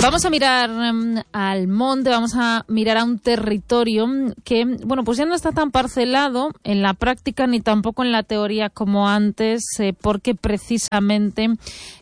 Vamos a mirar al monte, vamos a mirar a un territorio que, bueno, pues ya no está tan parcelado en la práctica ni tampoco en la teoría como antes, porque precisamente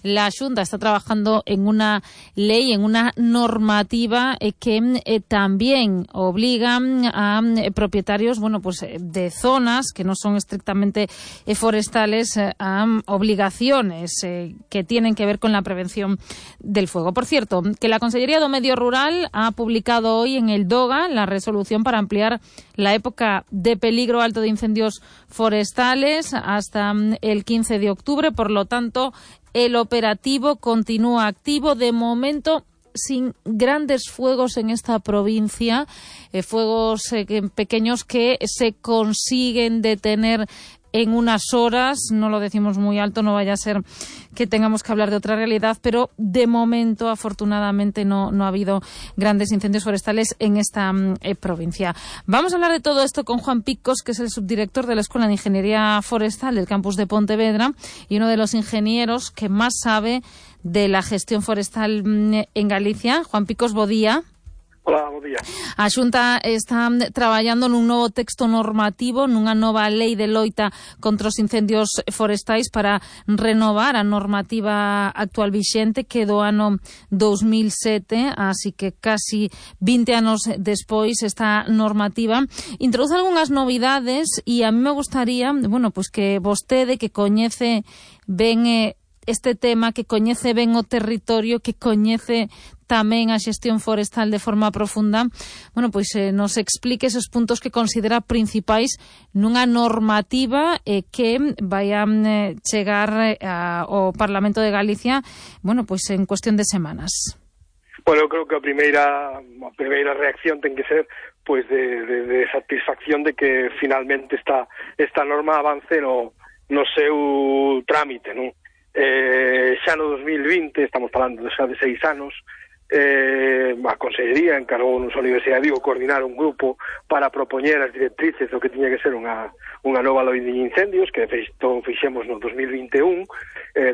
la Xunta está trabajando en una ley, en una normativa que también obliga a propietarios, bueno, pues de zonas que no son estrictamente forestales a obligaciones que tienen que ver con la prevención del fuego. Por cierto, que la Consellería do Medio Rural ha publicado hoy en el DOGA la resolución para ampliar la época de peligro alto de incendios forestales hasta el 15 de octubre. Por lo tanto, el operativo continúa activo. De momento, sin grandes fuegos en esta provincia, fuegos pequeños que se consiguen detener en unas horas. No lo decimos muy alto, no vaya a ser que tengamos que hablar de otra realidad, pero de momento, afortunadamente, no ha habido grandes incendios forestales en esta provincia. Vamos a hablar de todo esto con Juan Picos, que es el subdirector de la Escuela de Ingeniería Forestal del campus de Pontevedra y uno de los ingenieros que más sabe de la gestión forestal en Galicia. Juan Picos, bo día. Hola, bo día. A Xunta está traballando nun novo texto normativo, nunha nova lei de loita contra os incendios forestais para renovar a normativa actual vixente que do ano 2007, así que casi 20 anos despois esta normativa introduce algunhas novidades e a mí me gustaría, bueno, pues que vostede que coñece ben este tema, que coñece ben o territorio, que coñece tamén a xestión forestal de forma profunda, bueno, pois nos explique esos puntos que considera principais nunha normativa que vai a chegar ao Parlamento de Galicia, bueno, pois en cuestión de semanas. Bueno, eu creo que a primeira reacción ten que ser pois de satisfacción de que finalmente esta norma avance no seu trámite, non? Xa no 2020, estamos falando xa de 6 anos, a Consellería encargou nos a Universidade de Vigo coordinar un grupo para propoñer as directrices do que tiña que ser unha nova lei de incendios, que de feito fixemos no 2021,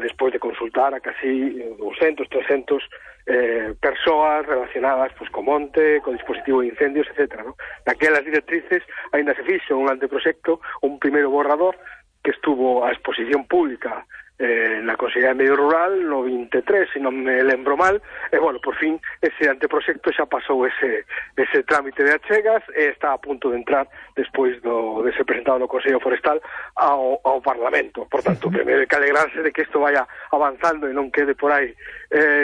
despois de consultar a casi 200, 300 persoas relacionadas pues, co monte, co dispositivo de incendios, etc. ¿no? Naquelas directrices ainda se fixo un anteproxecto, un primeiro borrador que estuvo a exposición pública na Consellería de Medio Rural no 23, se non me lembro mal, e, bueno, por fin, ese anteproxecto xa pasou ese trámite de achegas e está a punto de entrar despois de ser presentado no Consello Forestal ao Parlamento. Por tanto, primeiro hai que alegrarse de que isto vaya avanzando e non quede por aí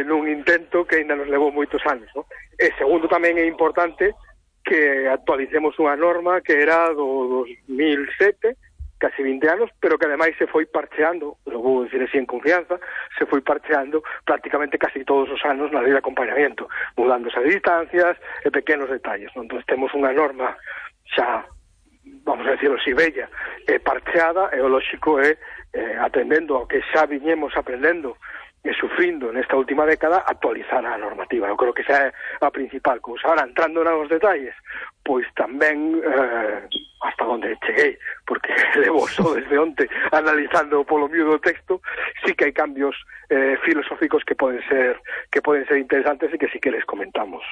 nun intento que ainda nos levou moitos anos, ¿no? E segundo, tamén é importante que actualicemos unha norma que era do 2007, casi 20 anos, pero que ademais se foi parcheando, lo vou dicir así en confianza, se foi parcheando prácticamente casi todos os anos na lei de acompañamiento, mudándose as distancias e pequenos detalles, ¿no? Entón temos unha norma xa, vamos a decirlo así, bella e parcheada, e o lóxico é, atendendo ao que xa viñemos aprendendo e sufrindo nesta última década, actualizar a normativa. Eu creo que esa é a principal cousa. Ahora, entrando nos detalles, pois tamén hasta onde cheguei, porque levo só desde onte analizando polo miúdo do texto, sí que hai cambios filosóficos que poden ser interesantes e que sí que les comentamos.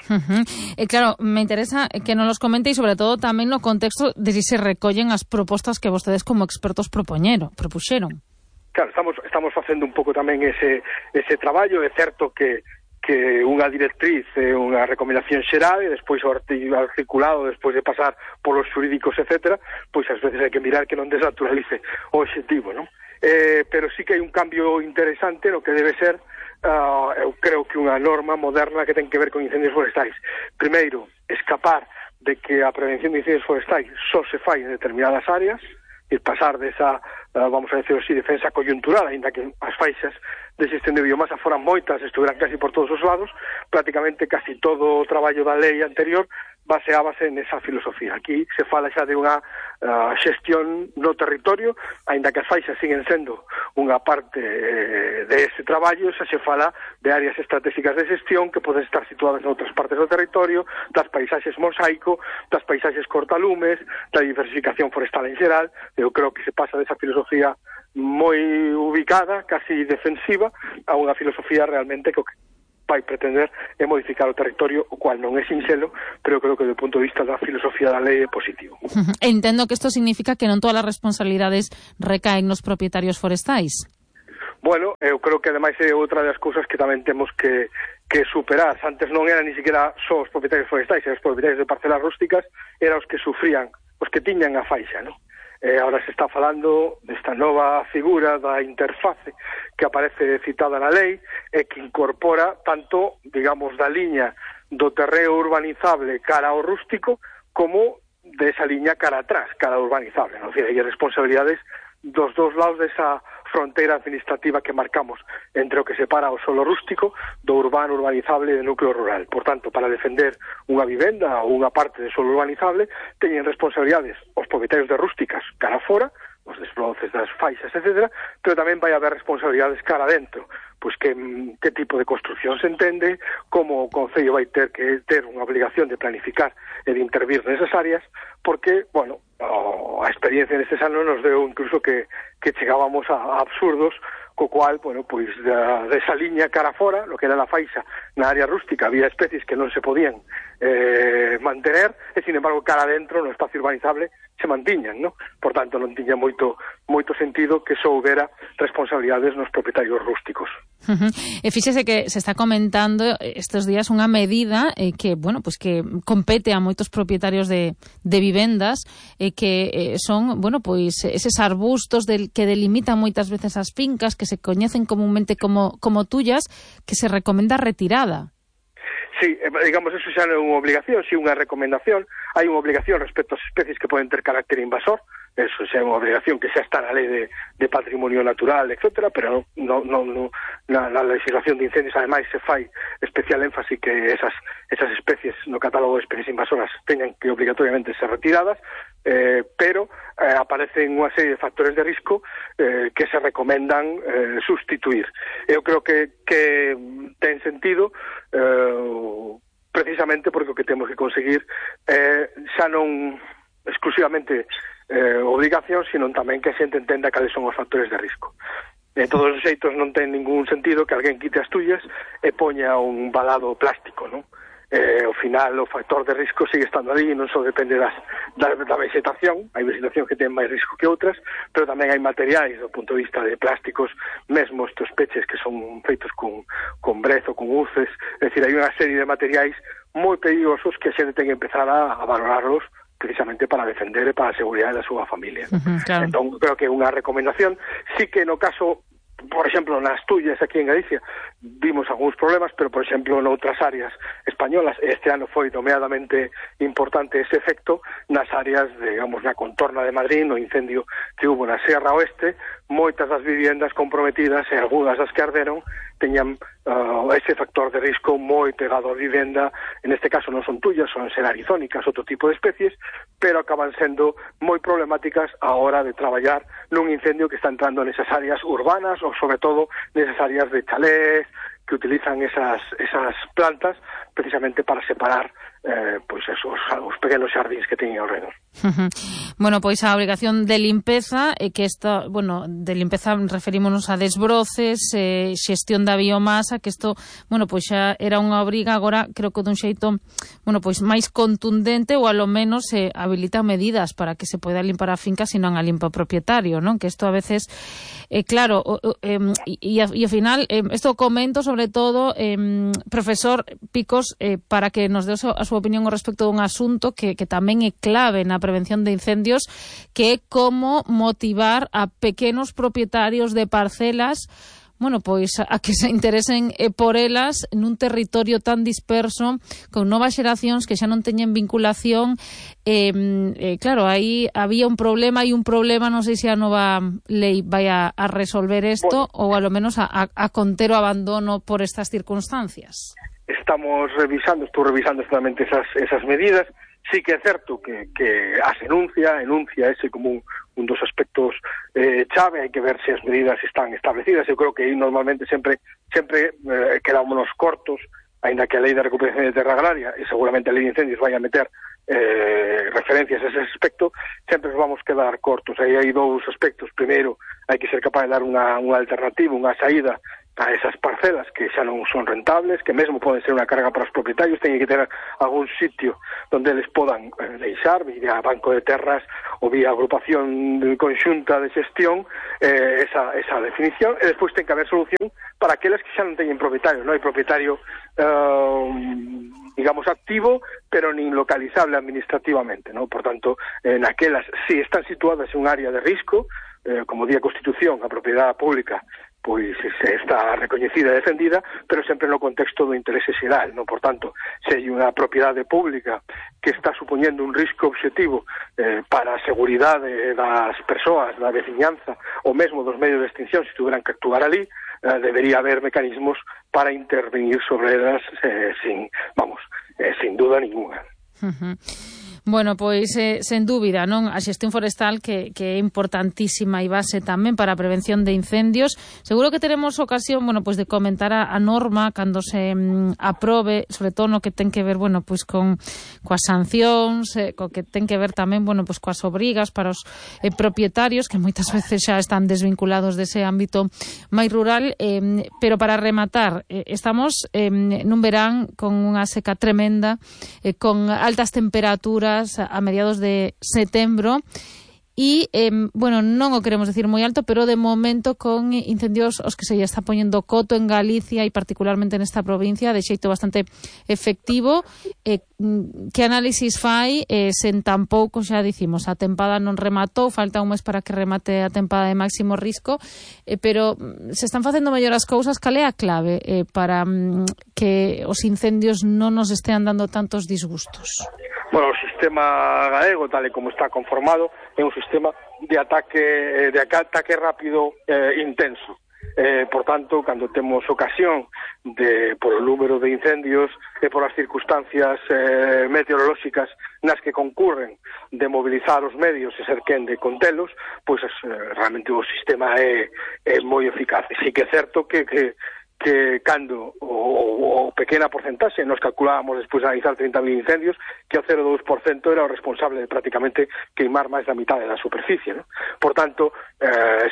Claro, me interesa que nos los comente e sobre todo tamén no contexto de si se recollen as propostas que vostedes como expertos propuxeron. Claro, estamos facendo un pouco tamén ese traballo. É certo que unha directriz é unha recomendación xeral e despois o articulado, despois de pasar polos xurídicos, etc., pois ás veces hai que mirar que non desnaturalice o obxectivo, non? Pero sí que hai un cambio interesante no que debe ser, eu creo que unha norma moderna que ten que ver con incendios forestais. Primeiro, escapar de que a prevención de incendios forestais só se fai en determinadas áreas, e pasar desa, vamos a decir así, defensa coyuntural, ainda que as faixas de xestión de biomasa foran moitas, estuveran casi por todos os lados, prácticamente casi todo o traballo da lei anterior baseábase nesa filosofía. Aquí se fala xa de unha xestión no territorio, aínda que as faixas siguen sendo unha parte de ese traballo, xa se fala de áreas estratégicas de xestión que poden estar situadas en outras partes do territorio, das paisaxes mosaico, das paisaxes cortalumes, da diversificación forestal en xeral. Eu creo que se pasa desa filosofía moi ubicada, casi defensiva, a unha filosofía realmente que vai pretender é modificar o territorio, o cual non é sinxelo, pero creo que do punto de vista da filosofía da lei é positivo. Entendo que isto significa que non todas as responsabilidades recaen nos propietarios forestais. Bueno, eu creo que ademais é outra das cousas que tamén temos que superar. Antes non eran ni siquiera só os propietarios forestais, os propietarios de parcelas rústicas eran os que sufrían, os que tiñan a faixa, non? Ahora se está falando desta nova figura da interface que aparece citada na lei e que incorpora tanto, digamos, da liña do terreo urbanizable cara ao rústico como desa liña cara atrás, cara ao urbanizable, non? Hai responsabilidades dos dous lados desa fronteira administrativa que marcamos entre o que separa o solo rústico do urbano, urbanizable e do núcleo rural. Por tanto, para defender unha vivenda ou unha parte de solo urbanizable, teñen responsabilidades os propietarios de rústicas cara fora, os desbroces das faixas, etc., pero tamén vai haber responsabilidades cara dentro, pois que tipo de construcción se entende, como o Concello vai ter que ter unha obligación de planificar e de intervir nesas áreas, porque, bueno, a experiencia nestes anos nos deu incluso que chegábamos a absurdos, co cual, bueno, pois desa liña cara fora, lo que era a faixa na área rústica, había especies que non se podían mantener, e, sin embargo, cara dentro, no espacio urbanizable, se mantiñan, ¿no? Por tanto, non tiña moito sentido que só houbera responsabilidades nos propietarios rústicos. E fíxese que se está comentando estes días unha medida que, bueno, pues que compete a moitos propietarios de vivendas que son, bueno, pois eses arbustos que delimitan moitas veces as fincas, que se coñecen comúnmente como tuyas, que se recomenda retirada. Sí, digamos, eso xa non é unha obligación, si unha recomendación. Hai unha obligación respecto ás especies que poden ter carácter invasor, eso xa é unha obligación que xa está na lei de patrimonio natural, etcétera, pero na legislación de incendios, ademais, se fai especial énfasis que esas especies no catálogo de especies invasoras teñan que obligatoriamente ser retiradas, pero aparecen unha serie de factores de risco que se recomendan sustituir. Eu creo que ten sentido precisamente porque o que temos que conseguir xa non exclusivamente obligación, sino tamén que a xente entenda cales son os factores de risco. De todos os xeitos non ten ningún sentido que alguén quite as tuyas e poña un valado plástico, non? Ao final o factor de risco sigue estando ali e non só depende da vegetación, hai vegetación que ten máis risco que outras, pero tamén hai materiais do punto de vista de plásticos, mesmo estes peches que son feitos con brezo, con uces, é dicir, hai unha serie de materiais moi perigosos que a xente ten que empezar a valorarlos precisamente para defender e para a seguridade da súa familia. Claro. Entón, creo que é unha recomendación, sí que no caso, por exemplo, nas tuyas aquí en Galicia vimos algúns problemas, pero, por exemplo, noutras áreas españolas, este ano foi nomeadamente importante ese efecto nas áreas, digamos, na contorna de Madrid, no incendio que hubo na Serra Oeste, moitas das viviendas comprometidas e algunhas das que arderon teñan ese factor de risco moi pegado á vivenda. En este caso non son tuyas, son xerarizónicas, outro tipo de especies, pero acaban sendo moi problemáticas a hora de traballar nun incendio que está entrando nesas áreas urbanas ou, sobre todo, nesas áreas de chalés que utilizan esas plantas precisamente para separar pois esos os pequenos xardíns que teñen ao redor. Bueno, pois a obrigación de limpeza que esta, bueno, de limpeza referímonos a desbroces, xestión da biomasa, que isto, bueno, pois xa era unha obriga, agora creo que dun xeito, bueno, pois máis contundente, ou alo menos habilita medidas para que se poida limpar a finca se non a limpa o propietario, non? Que isto a veces claro, e ao final isto comento sobre todo profesor Picos, para que nos dé a súa opinión ao respecto dun asunto que tamén é clave na prevención de incendios, que é como motivar a pequenos propietarios de parcelas, bueno, pois a que se interesen por elas nun territorio tan disperso, con novas xeracións que xa non teñen vinculación. Claro, aí había un problema, non sei se a nova lei vai a resolver isto, ou a lo menos a conter o abandono por estas circunstancias. Estou revisando exactamente esas medidas. Sí que é certo que as enuncia ese como un dos aspectos chave, hai que ver se as medidas están establecidas. Eu creo que aí normalmente sempre quedámonos cortos, aínda que a lei de recuperación de terra agraria e seguramente a lei de incendios vai a meter referencias a ese aspecto, sempre nos vamos quedar cortos. Aí hai dous aspectos. Primeiro, hai que ser capaz de dar unha alternativa, unha saída a esas parcelas que xa non son rentables, que mesmo poden ser unha carga para os propietarios, teñen que ter algún sitio onde eles podan deixar vía banco de terras ou vía agrupación conxunta de xestión esa definición, e despois ten que haber solución para aqueles que xa non teñen propietario. Non hai propietario digamos activo, pero nin localizable administrativamente, ¿no? Por tanto, naquelas, si están situadas en un área de risco, como di a Constitución, a propiedade pública pois está recoñecida e defendida, pero sempre no contexto do interese xeral, ¿no? Por tanto, se hai unha propiedade pública que está supoñendo un risco obxectivo para a seguridade das persoas, da veciñanza, ou mesmo dos medios de extinción, se tuveran que actuar ali, debería haber mecanismos para intervenir sobre elas sin duda ninguna. Bueno, pois, sen dúbida, non, a xestión forestal que é importantísima e base tamén para a prevención de incendios. Seguro que teremos ocasión, bueno, pois de comentar a norma cando se aprobe, sobre todo no que ten que ver, bueno, pois coas sancións, co que ten que ver tamén, bueno, pois coas obrigas para os propietarios, que moitas veces xa están desvinculados dese ámbito máis rural, pero para rematar, estamos nun verán con unha seca tremenda, con altas temperaturas a mediados de setembro e, bueno, non o queremos decir moi alto, pero de momento con incendios os que se está poñendo coto en Galicia e particularmente nesta provincia de xeito bastante efectivo. Que análisis fai sen tampouco, xa dicimos, a tempada non rematou, falta un mes para que remate a tempada de máximo risco, pero se están facendo mellor as cousas. Cal é a clave para que os incendios non nos estean dando tantos disgustos? Bueno, o sistema galego, tal e como está conformado, é un sistema de ataque rápido intenso. Por tanto, cando temos ocasión por o número de incendios e por as circunstancias meteorolóxicas nas que concurren de mobilizar os medios e ser quen de contelos, pois realmente o sistema é moi eficaz. Si que é certo que cando o pequena porcentaxe nos calculábamos despois de analizar 30.000 incendios, que o 0,2% era o responsable de prácticamente queimar máis da mitad da superficie, ¿no? Por tanto,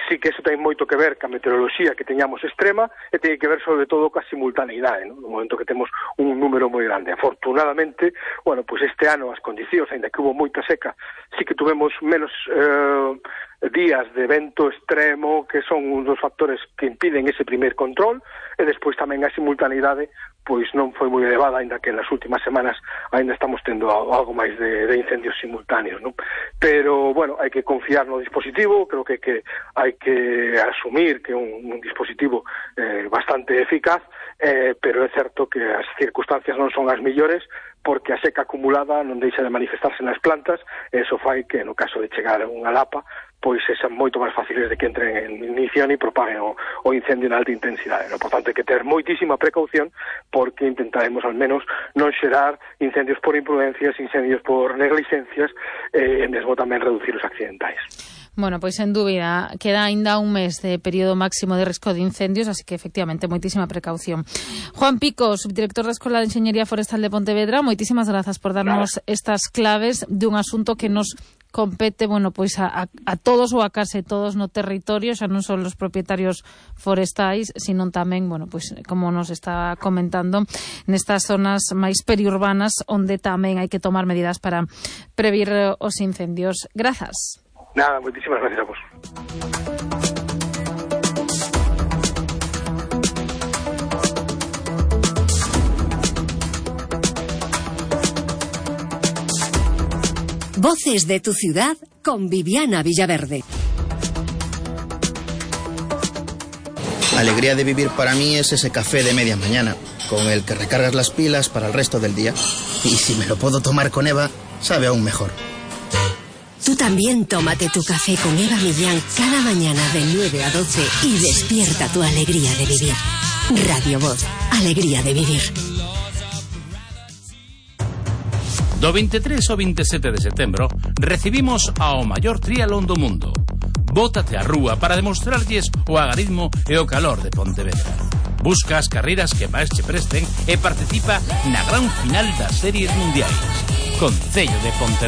sí que eso ten moito que ver ca meteoroloxía que teñamos extrema e ten que ver sobre todo ca simultaneidade, ¿no? No momento que temos un número moi grande. Afortunadamente, bueno, pues este ano as condicións, ainda que hubo moita seca, sí que tuvemos menos días de vento extremo, que son un dos factores que impiden ese primer control, e despois tamén a simultaneidade pois non foi moi elevada, ainda que nas últimas semanas ainda estamos tendo algo máis de incendios simultáneos, ¿no? Pero, bueno, hai que confiar no dispositivo, creo que hai que asumir que é un dispositivo bastante eficaz, pero é certo que as circunstancias non son as millores, porque a seca acumulada non deixa de manifestarse nas plantas, e iso fai que, no caso de chegar a unha lapa, pois sexan moito máis fáciles de que entren en ignición e propaguen o incendio en alta intensidade, ¿no? Por tanto, hai que ter moitísima precaución, porque intentaremos al menos non xerar incendios por imprudencias, incendios por negligencias, e mesmo tamén reducir os accidentais. Bueno, pois sen dúbida, queda aínda un mes de período máximo de risco de incendios, así que efectivamente moitísima precaución. Juan Pico, subdirector da Escola de Enxeñería Forestal de Pontevedra, moitísimas grazas por darnos estas claves de un asunto que nos compete, bueno, pois a todos ou a case todos no territorio, xa non son os propietarios forestais, sino tamén, bueno, pois como nos está comentando, nestas zonas máis periurbanas onde tamén hai que tomar medidas para previr os incendios. Grazas. Nada, moitísimas gracias a vos. Voces de tu ciudad con Viviana Villaverde. La alegría de vivir para mí es ese café de media mañana, con el que recargas las pilas para el resto del día. Y si me lo puedo tomar con Eva, sabe aún mejor. Tú también tómate tu café con Eva Millán cada mañana de 9 a 12 y despierta tu alegría de vivir. Radio Voz, alegría de vivir. Do 23 ao 27 de setembro recibimos ao maior triatlón do mundo. Bótate á rúa para demostrarlles o agarrismo e o calor de Pontevedra. Busca as carreiras que máis che presten e participa na gran final das series mundiais. Concello de Pontevedra.